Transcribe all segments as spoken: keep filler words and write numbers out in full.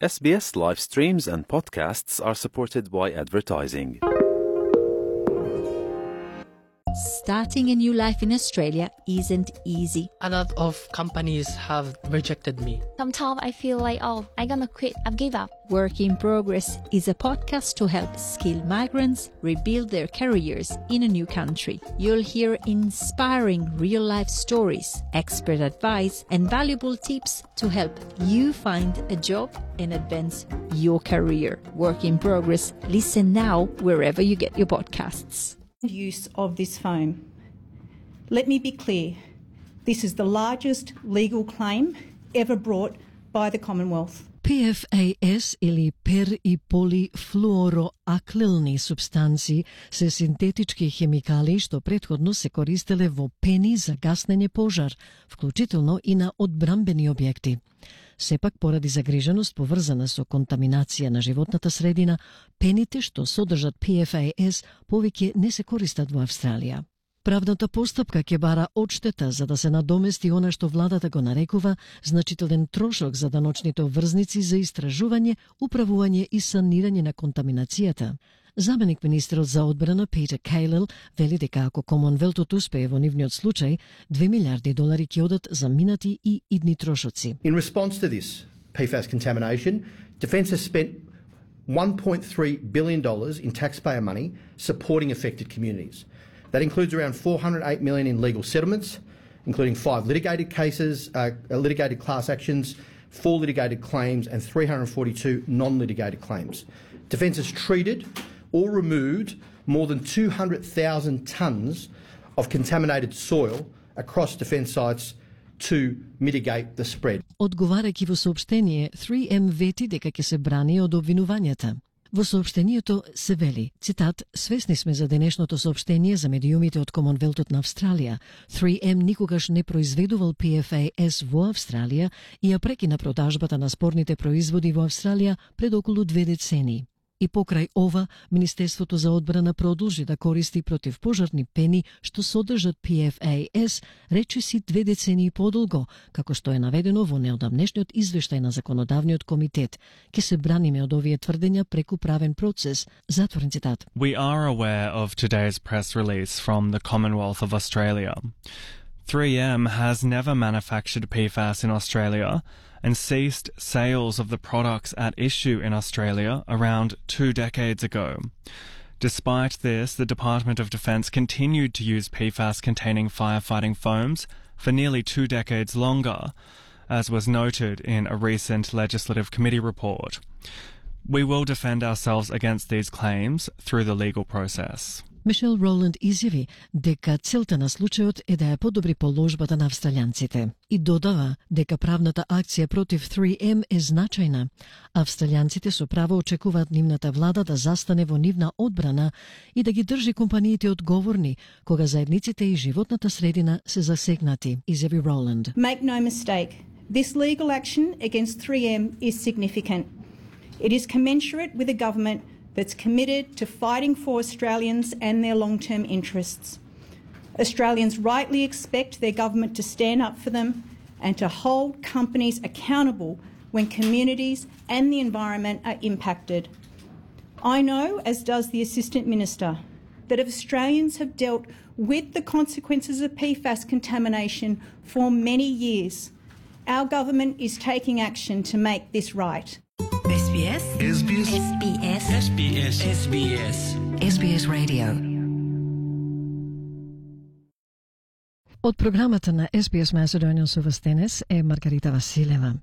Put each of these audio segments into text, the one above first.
S B S live streams and podcasts are supported by advertising. Starting a new life in Australia isn't easy. A lot of companies have rejected me. Sometimes I feel like, oh, I'm gonna quit, I've give up. Work in Progress is a podcast to help skilled migrants rebuild their careers in a new country. You'll hear inspiring real-life stories, expert advice, and valuable tips to help you find a job and advance your career. Work in Progress. Listen now wherever you get your podcasts. Use of this foam. Let me be clear, this is the largest legal claim ever brought by the Commonwealth. P F A S или пер и полифлуороаклилни супстанции се синтетички хемикали што претходно се користеле во пени за гаснење пожар, вклучително и на одбрамбени објекти. Сепак, поради загриженост поврзана со контаминација на животната средина, пените што содржат P F A S повеќе не се користат во Австралија. Правната постапка ќе бара одштета за да се надомести она што владата го нарекува значителен трошок за даночните обврзници за истражување, управување и санирање на контаминацијата. Заменик министерот за одбрана Питер Кейлел вели дека ако Комонвелтот успее во нивниот случај, две милиарди долари ќе одат за минати и идни трошоци. In response to this P FAS contamination, Defence has spent one point three billion dollars in taxpayer money supporting affected communities. That includes around four hundred eight million dollars in legal settlements, including five litigated cases, uh, litigated class actions, four litigated claims and three hundred forty-two non-litigated claims. Defence has treated or removed more than two hundred thousand tonnes of contaminated soil across Defence sites to mitigate the spread. Одговарајќи во соопштение, three M вети дека ќе се брани од обвинувањата. Во соопштението се вели, цитат, свесни сме за денешното соопштение за медиумите од Комонвелтот на Австралија. three M никогаш не произведувал P F A S во Австралија и ја прекина продажбата на спорните производи во Австралија пред околу две децении. И покрај ова, Министерството за одбрана продолжи да користи противпожарни пени што содржат P F A S речиси две децении подолго, како што е наведено во неодамнешниот извештај на Законодавниот комитет. Ке се браниме од овие тврдења преку правен процес. Затворен цитат. We are aware of today's press release from the Commonwealth of Australia. three M has never manufactured P FAS in Australia and ceased sales of the products at issue in Australia around two decades ago. Despite this, the Department of Defence continued to use P FAS-containing firefighting foams for nearly two decades longer, as was noted in a recent Legislative Committee report. We will defend ourselves against these claims through the legal process. Мишел Роланд изјави дека целта на случајот е да ја подобри положбата на австралијанците и додава дека правната акција против three M е значајна. Австралијанците со право очекуваат нивната влада да застане во нивна одбрана и да ги држи компаниите одговорни кога заедниците и животната средина се засегнати, изјави Роланд. Make no mistake, this legal action against three M is significant. It is commensurate with a government that's committed to fighting for Australians and their long-term interests. Australians rightly expect their government to stand up for them and to hold companies accountable when communities and the environment are impacted. I know, as does the Assistant Minister, that Australians have dealt with the consequences of P FAS contamination for many years. Our government is taking action to make this right. S B S S B S S B S S B S S B S S B S Radio. Од програмата на S B S Macedonian со вас денес е Маргарита Василева.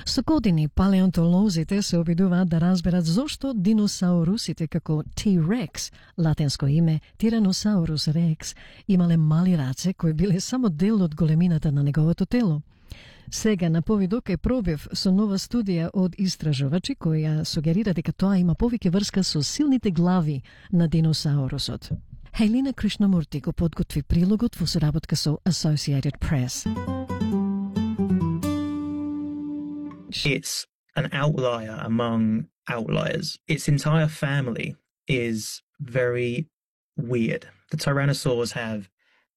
Со години палеонтолозите се обидуваат да разберат зошто диносаурусите како T-Rex, латинско име Tyrannosaurus rex, имале мали раце кои биле само дел од големината на неговото тело. Сега на повидок е пробив со нова студија од истражувачи која сугерира дека тоа има повеќе врска со силните глави на диносаурусот. Хелина Кришнамурти го подготви прилогот во соработка со Associated Press. It's an outlier among outliers. Its entire family is very weird. The tyrannosaurs have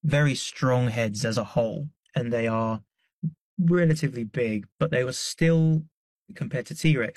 very strong heads as a whole, and they are relatively big, but they were still, compared to T-Rex,